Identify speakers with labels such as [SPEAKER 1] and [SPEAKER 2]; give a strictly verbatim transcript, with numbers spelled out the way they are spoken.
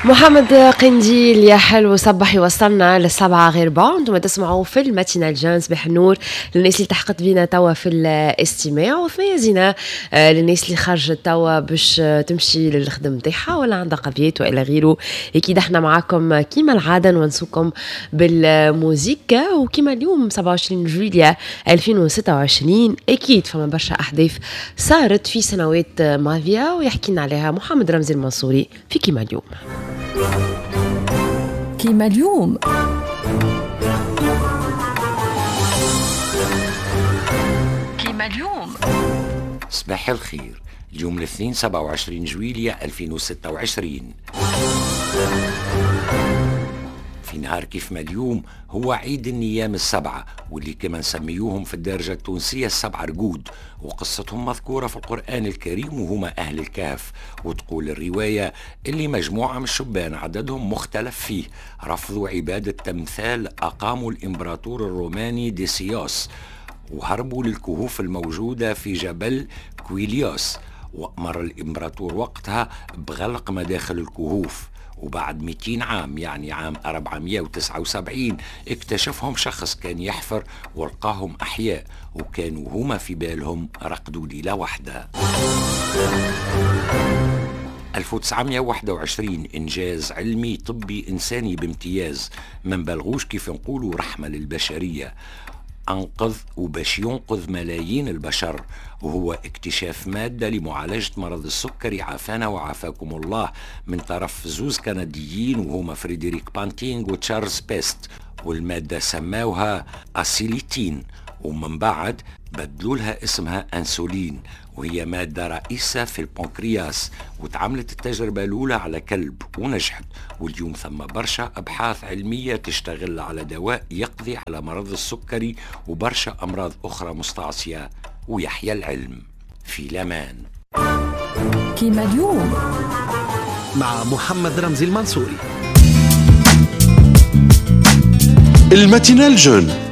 [SPEAKER 1] محمد قنديل يا حلو صبح يوصلنا للسبعة غير ربع. انتم تسمعوا في ال matinale jeune. صباح النور للناس اللي التحقت بينا توا في الاستماع، وثنية زينة آه، للناس اللي خرجت توا باش تمشي للخدم نتاعها ولا عندها قضيات والى غيره. اكيد احنا معاكم كيما العادة نونسوكم بالموزيكا، وكيما اليوم سبعة وعشرين جويلية ألفين وستة وعشرين اكيد فما برشا احداث صارت في سنوات ماضية ويحكي لنا عليها محمد رمزي المنصوري في كيما اليوم.
[SPEAKER 2] كيما اليوم كيما اليوم.
[SPEAKER 3] صباح الخير. اليوم الاثنين سبعة وعشرين جويلية ألفين وستة وعشرين. في نهار كيف ما اليوم هو عيد النيام السبعة، واللي كما نسميوهم في الدرجة التونسية السبعة رقود، وقصتهم مذكورة في القرآن الكريم وهما أهل الكهف. وتقول الرواية اللي مجموعة من الشبان عددهم مختلف فيه رفضوا عبادة تمثال أقاموا الإمبراطور الروماني ديسيوس، وهربوا للكهوف الموجودة في جبل كويليوس، وأمر الإمبراطور وقتها بغلق مداخل الكهوف. وبعد مئتين عام يعني عام أربعمائة وتسعة وسبعين اكتشفهم شخص كان يحفر ولقاهم أحياء، وكانوا هما في بالهم رقدوا ليلة واحدة. ألف وتسعمائة وواحد وعشرين إنجاز علمي طبي إنساني بامتياز، ما نبالغوش كيف نقولوا رحمة للبشرية، أنقذ وباش ينقذ ملايين البشر، وهو اكتشاف مادة لمعالجة مرض السكري عافانا وعافاكم الله من طرف زوز كنديين وهما فريدريك بانتينغ وتشارلز بيست، والمادة سماوها أسيليتين، ومن بعد بدلوا لها اسمها أنسولين، وهي مادة رئيسة في البنكرياس، وتعملت التجربة الأولى على كلب ونجحت. واليوم ثم برشا أبحاث علمية تشتغل على دواء يقضي على مرض السكري وبرشا أمراض أخرى مستعصية، ويحيى العلم في لمان.
[SPEAKER 2] كيما اليوم
[SPEAKER 4] مع محمد رمزي المنصوري.
[SPEAKER 5] ال matinale jeune